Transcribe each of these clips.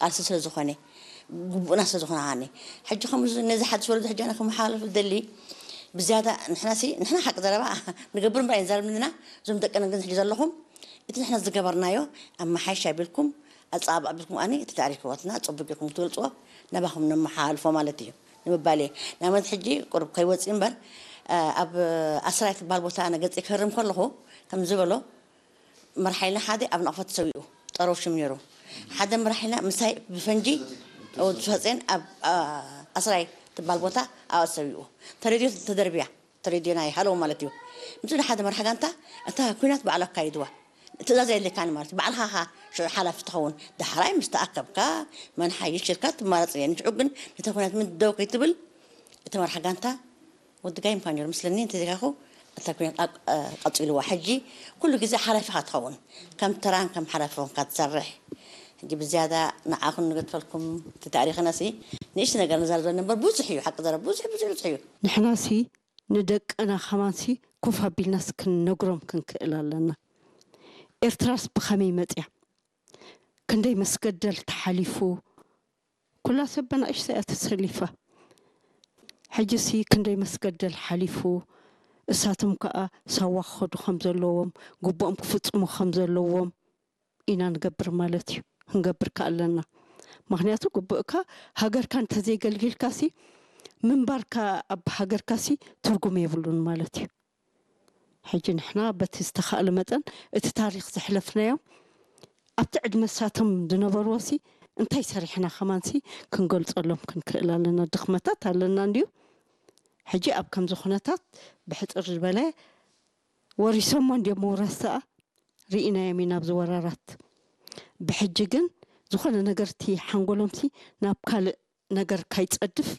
ቃልሲ ስለ ዝኾነ፣ ግቡእና ስለ ዝኾነ። ኣነ ሕጂ ከም ነዚ ሓድሽ ወለዶ ሕጂ ኣነ ከመሓላልፍ ደሊ ብዝያዳ ንሕና ሲ ንሕና ሓቂ ዘረባ ንገብር እምበር ኣይንዛረብ ንና። እዞም ደቅና ግን ሕጂ ዘለኹም እቲ ንሕና ዝገበርናዮ ኣመሓይሽ ኣቢልኩም ኣጻባእ ኣቢልኩም ኣነ እቲ ታሪክ ህይወትና ጽቡቅ ጌርኩም ትገልጽዎ፣ ናባኹም ነመሓላልፎ ማለት እዩ ንምባል እየ። ንኣብነት ሕጂ ቁሩብ ከይወጽእ እምበር ኣብ ኣስራይ ትበሃል ቦታ ኣነ ገጽ ክህርም ከለኹ ከም ዝበሎ መርሓይና ሓደ ኣብ ነቕፈት ተሰዊኡ፣ ጠረው ሽም ነይሩ። ሓደ መርሓይና ምሳይ ብፈንጂ ወዲ ሳጼን ኣብ ኣስራይ ትበሃል ቦታ ኣብኣ ተሰዊኡ። ተሬድዮ ተደርብያ፣ ተሬድዮ ናይ ሃለው ማለት እዩ። ምስ ሓደ መርሓ ጋንታ እታ ኩናት ባዕሉ ኣካይድዋ። ትእዛዝ የድልየካን ማለት እዩ። ባዕልኻ ኢኻ ሽዑ ሓላፊ ትኸውን። ዳሕራይ ምስ ተኣከብካ መን ሓይሽ ኢልካ ትማረጽ እየ። ንሽዑ ግን ነቲ ኩናት ምን ደው ከይትብል እቲ መርሓ ጋንታ ወዲ ጋይ ምዃን ነይሩ ምስለኒ እንተዘይካኹ እታ ኩናት ቀጽልዋ። ሕጂ ኩሉ ግዜ ሓላፊኻ ትኸውን። ከም ተራን ከም ሓላፊ ኾንካ ትሰርሕ። ሕጂ ብዝያዳ ንዓኹም ንገድፈልኩም እቲ ታሪኽና ሲ ንእሽቲ ነገር ንዛረብ ዘሎ እምበር ብዙሕ እዩ። ሓቂ ዘረብ ብዙሕ ብዙሕ ብዙሕ እዩ። ንሕና ሲ ንደቅና ከማን ሲ ኮፍ ኣቢልናስ ክንነግሮም ክንክእል ኣለና። ኤርትራስ ብኸመይ መጽያ? ክንደይ መስገደል ተሓሊፉ? ኩላ ሰብ በናእሽተይ እያ ተሰሊፋ። ሕጂ ሲ ክንደይ መስገደል ሓሊፉ። እሳቶም ከኣ ሳዋ ክኸዱ ከም ዘለዎም፣ ግቡኦም ክፍጽሙ ከም ዘለዎም ኢና ንገብር ማለት እዩ። ክንገብር ከ ኣለና። ምኽንያቱ ግቡእካ ሃገርካ እንተዘይገልጊልካ ሲ ምንባርካ ኣብ ሃገርካ ሲ ትርጉም የብሉን ማለት እዩ። ሕጂ ንሕና በቲ ዝተኻእለ መጠን እቲ ታሪኽ ዘሕለፍናዮ ኣብቲ ዕድመ ሳቶም ዝነበርዎ ሲ እንታይ ሰሪሕና ከማን ሲ ክንገልጸሎም ክንክእል ኣለና። ድኽመታት ኣለና እንድዩ። ሕጂ ኣብ ከምዚ ኩነታት ብሕጽር ዝበለ ወሪሶሞ እንድዮም ምውራስ ደኣ ርኢናዮም ኢና ኣብዚ ወራራት። ብሕጂ ግን ዝኾነ ነገር እቲ ሓንጎሎም ሲ ናብ ካልእ ነገር ካይጸድፍ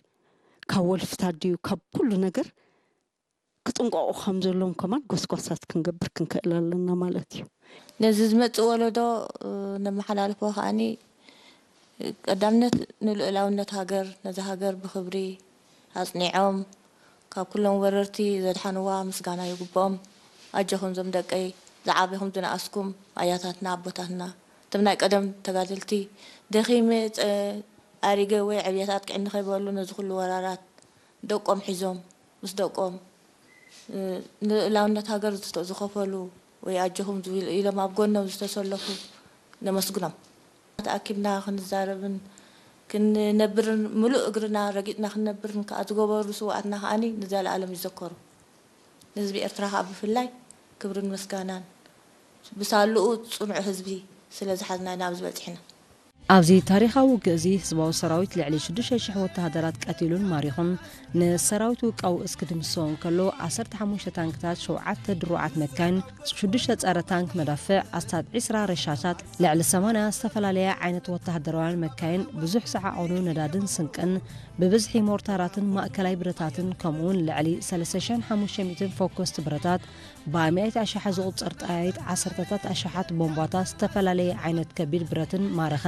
ካብ ወልፍታት ድዩ ካብ ኩሉ ነገር ክጥንቀቑ ከም ዘለዎም ከማን ጎስጓሳት ክንገብር ክንክእል ኣለና ማለት እዩ። ነዚ ዝመጽእ ወለዶ ነመሓላልፎ ከኣኒ ቀዳምነት ንልኡላውነት ሃገር ነዛ ሃገር ብኽብሪ ኣጽኒዖም ካብ ኩሎም ወረርቲ ዘድሓንዋ ምስጋና ይግብኦም። ኣጆኹም ዞም ደቀይ ዝዓበኹም ዝነኣስኩም ኣያታትና ኣቦታትና እቶም ናይ ቀደም ተጋደልቲ ደኺመ ኣሪገ ወይ ዕብየት ኣጥቅዕኒ ከይበሉ ነዚ ኩሉ ወራራት ደቆም ሒዞም ምስ ደቆም ንልኡላውነት ሃገር ዝኸፈሉ ወይ ኣጆኹም ኢሎም ኣብ ጎኖም ዝተሰለፉ ነመስግኖም። ተኣኪብና ክንዛረብን ክንነብርን ምሉእ እግርና ረጊጽና ክንነብርን ከኣ ዝገበሩ ስውኣትና ከኣ ንዘለኣለም ይዘከሩ። ንህዝቢ ኤርትራ ከኣ ብፍላይ ክብርን ምስጋናን ብሳልኡ ጽኑዕ ህዝቢ ስለ ዝሓዝና ኢና ኣብዚ በጺሕና። ኣብዚ ታሪኻዊ ውግእ እዚ ህዝባዊ ሰራዊት ልዕሊ ሽዱሽተ ሽሕ ወተሃደራት ቀቲሉን ማሪኹን፣ ንሰራዊት ውቃውእስ ክድምስሶ እንከሎ፣ ዓሰርተ ሓሙሽተ ታንክታት፣ ሸውዓተ ድሩዓት መካይን፣ ሽዱሽተ ጸረ ታንክ መዳፍዕ፣ ኣስታት ዒስራ ረሻሻት፣ ልዕሊ ሰማንያ ዝተፈላለያ ዓይነት ወተሃደራውያን መካይን፣ ብዙሕ ዝዓቐኑ ነዳድን ስንቅን፣ ብብዝሒ ሞርታራትን ማእከላይ ብረታትን፣ ከምኡውን ልዕሊ ሰለስተ ሽሕን ሓሙሽተ ሚእትን ፎኮስት ብረታት፣ ብኣማኢት ኣሽሓት ዝቑጸር ጠያይት፣ ዓሰርተታት ኣሽሓት ቦምባታት፣ ዝተፈላለየ ዓይነት ከቢድ ብረትን ማረኸ።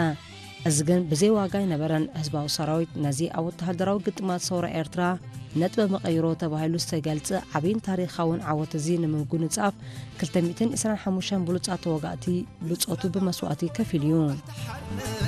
እዚ ግን ብዘይ ዋጋ ኣይነበረን። ህዝባዊ ሰራዊት ነዚ ኣብ ወተሃደራዊ ግጥማት ሰውራ ኤርትራ ነጥበ መቐይሮ ተባሂሉ ዝተገልጸ ዓብይን ታሪኻውን ዓወት እዚ ንምጉንጻፍ ክልተ ሚእትን ዕስራን ሓሙሽተን ብሉጻት ተዋጋእቲ ብጾቱ ብመስዋእቲ ከፊሉ እዩ።